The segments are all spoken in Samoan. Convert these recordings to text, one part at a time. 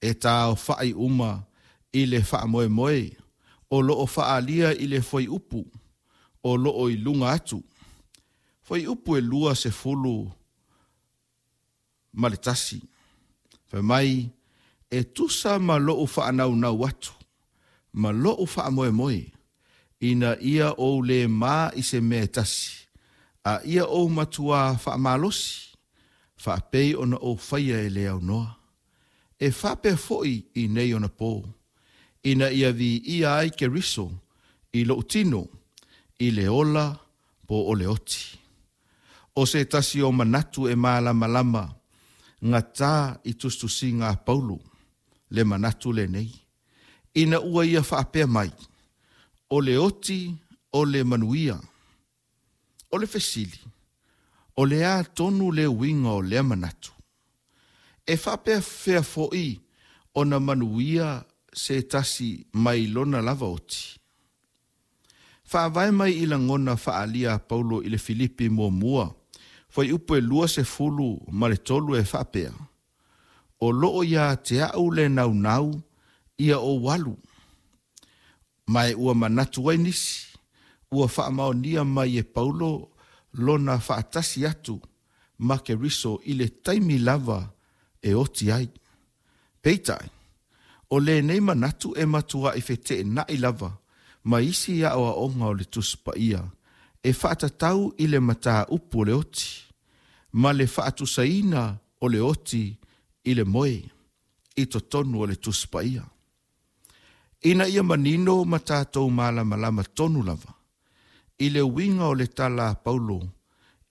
E taaofa'i uma i le faamoemoe o loo faaalia i le fuaiupu o loo i luga atu. Fuaiupu e 21. Fai mai, e tusa ma lo'u faanaunau atu ma lo'u faamoemoe, ina ia ou le ma i se mea e tasi, a ia ou matuā faamalosi, faapei ona ou faia e le aunoa. E faapea foi i nei ona pō, ina ia viia ai Keriso i lou tino, i le ola po o le oti. O se tasi o manatu e malamalama gata i tusitusiga a Paulo, le manatu lenei, ina ua ia faapea mai, o le oti o le manuia. O le fesili, o le a tonu le uiga o lea manatu? E faapefea foi ona manuia se tasi mai lona lava oti? Faavae mai i lagona faaalia a Paulo i le Filipi muamua, fuaiupu e 23 e faapea, o loo ia te au le naunau ia ou alu, ma e ua manatu ai nisi, ua faamaonia mai e Paulo lona faatasi atu ma Keriso i le taimi lava e oti ai. Peitai, o lenei manatu e matua'i feteena'i lava ma isi aoaoga o le Tusi Paia e faatatau i le mataupu o le oti, ma le faatusaina o le oti i le moe i totonu o le Tusi Paia. Ina ia manino ma tatou malamalama tonu lava i le uiga o le tala a Paulo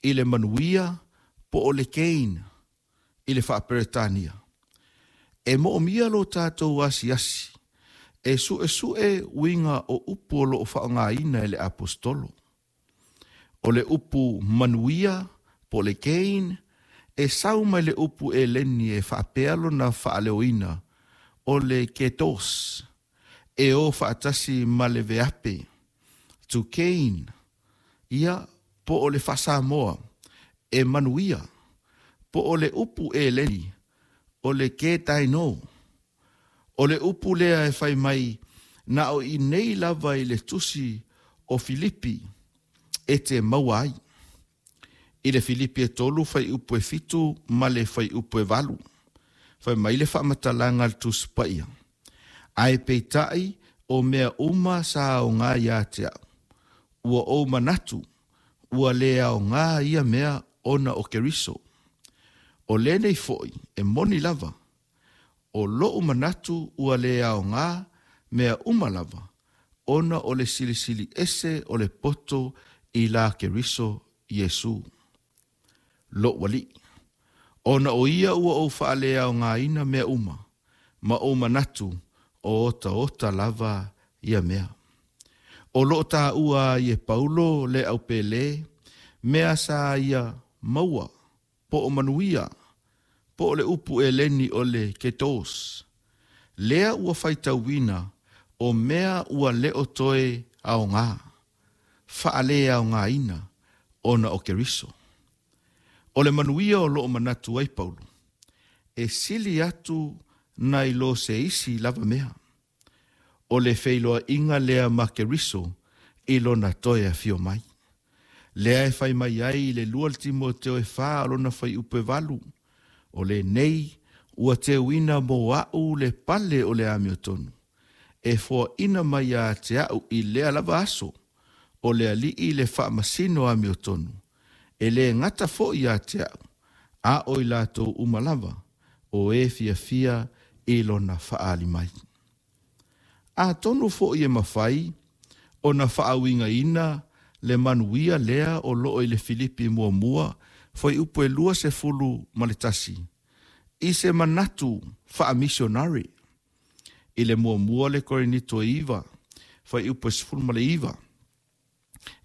i le manuia po o le gain i le faaperetania. E moomia lo tatou asiasi e suesue uiga o upu o loo faaaogaina e le aposetolo. O le upu manuia po o le gain e sau mai le upu eleni e faapea lona faaleoina o le ketos, e o faatasi ma le veape, to gain, ia po o le faasamoa e manuia, po o le upu eleni o le ketaino. O le upu lea e fai mai na o i nei lava i le tusi o Filipi e te maua ai. I le Filipi e 3 fuaiupu e 7 ma le fuaiupu e 8. Fai mai le faamatalaga a le Tusi Paia, ae peitai o mea uma sa aoga ia te au, ua ou manatu ua le aoga ia mea ona o Keriso. O lenei foi e moni lava, o lou manatu ua le aoga mea uma lava, ona o le silisili ese o le poto i la Keriso Iesu, lou Alii. Ona o ia ua ou faaleaogaina mea uma, ma ou manatu o otaota lava ia mea. O loo taua ai e Paulo le aupele, mea sa ia maua, po o manuia, po o le upu eleni o le ketos. Lea ua faitauina o mea ua leo toe aoga, faaleaogaina ona o Keriso. O le manuia o loo manatu ai Paulo, e sili atu nai lo se isi lava mea. O le feiloaiga lea ma Keriso i lona toe afio mai. Lea e fai mai ai i le 2 Timoteo e 4 o lona fuaiupu e 8, o lenei ua teuina mo a'u le pale o le amiotonu, e foaina mai ia te au i lea lava aso, o le Alii le faamasino amiotonu, e le gata foi ia te au, a o i latou uma lava, o e fiafia i lona faaali mai. Atonu foi e mafai ona faauigaina le manuia lea o loo i le Filipi muamua fuaiupu e 21 i se manatu faamisionari. I le muamua le Korinito e 9 fuaiupu e 19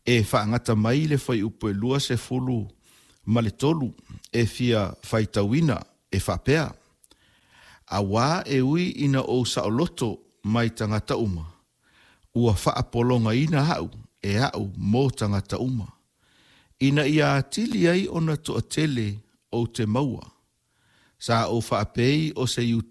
e faagata mai le fuaiupu e 23 e fia faitauina e faapea, auā e ui ina ou saoloto mai tagata uma, ua faapologaina au e au mo tagata uma, ina ia atili ai ona toatele ou te maua. Sa ou faapei o se Iutaio.